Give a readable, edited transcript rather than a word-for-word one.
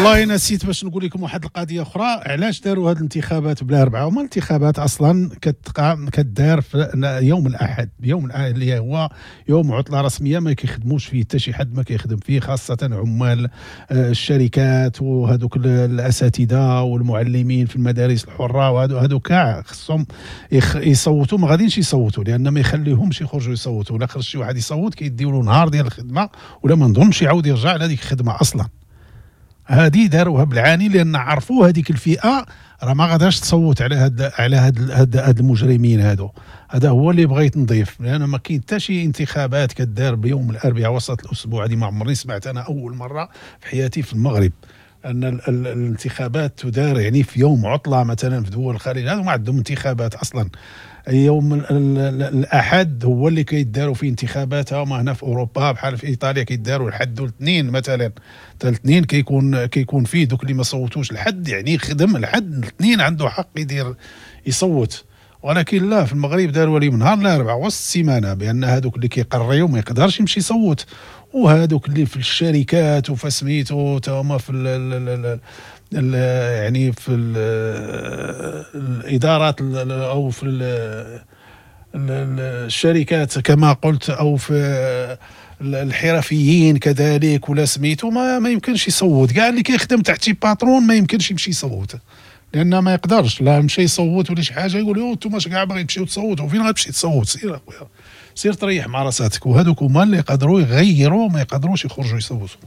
والله نسيت باش نقول لكم واحد القضية اخرى، علاش داروا هذه الانتخابات بلا اربعه؟ هما الانتخابات اصلا كتقع كدار في يوم الاحد، يوم اللي هو يوم عطله رسميه، ما كيخدموش فيه حتى شي حد، ما كيخدم فيه، خاصة عمال الشركات وهذوك الاساتذة والمعلمين في المدارس الحره، وهذو كاع خصهم يصوتوا، ما غادينش يصوتوا لان ما يخليهمش يخرجوا يصوتوا. ولا خرج شي واحد يصوت كيديو له نهار ديال الخدمه، ولا ما نظنش يعاود يرجع لهذيك الخدمة اصلا. هذه داروها بالعاني لان عرفوا هذيك الفئة راه ما غاداش تصوت على هاد المجرمين هادو. هذا هو اللي بغيت نضيف، لان ما كاين حتى شي انتخابات كدار بيوم الاربعاء وسط الاسبوع. هذه ما عمرني سمعت، انا اول مرة في حياتي في المغرب ان الانتخابات تدار يعني في يوم عطله. مثلا في دول الخليج هذو ما عندهم انتخابات اصلا، يوم الاحد هو اللي كيداروا فيه انتخابات. هما هنا في اوروبا بحال في ايطاليا كيداروا الحد والاثنين مثلا، حتى الاثنين كيكون فيه دوك اللي ما صوتوش الحد، يعني خدم الحد، الاثنين عنده حق يدير يصوت. ولكن لا، في المغرب داروا لي نهار الاربعاء وسط السيمانه، بان هذوك اللي كيقريو ما يقدرش يمشي يصوت، وهذوك اللي في الشركات وفسميتو هما في ال ال ال يعني في الادارات او في الشركات كما قلت، او في الحرفيين كذلك ولا سميتو، ما يمكنش يصوت. كاع اللي كيخدم تحت شي patron ما يمكنش يمشي يصوت، لان ما يقدرش. لا مشى يصوت ولا شي حاجة يقول له انتم كاع باغيين تمشيو تصوتوا، فين غتمشي تصوت؟ سير اخويا، سير تريح مع راساتك. وهذوك هما اللي يقدروا يغيروا، ما يقدروش يخرجوا يصوتوا.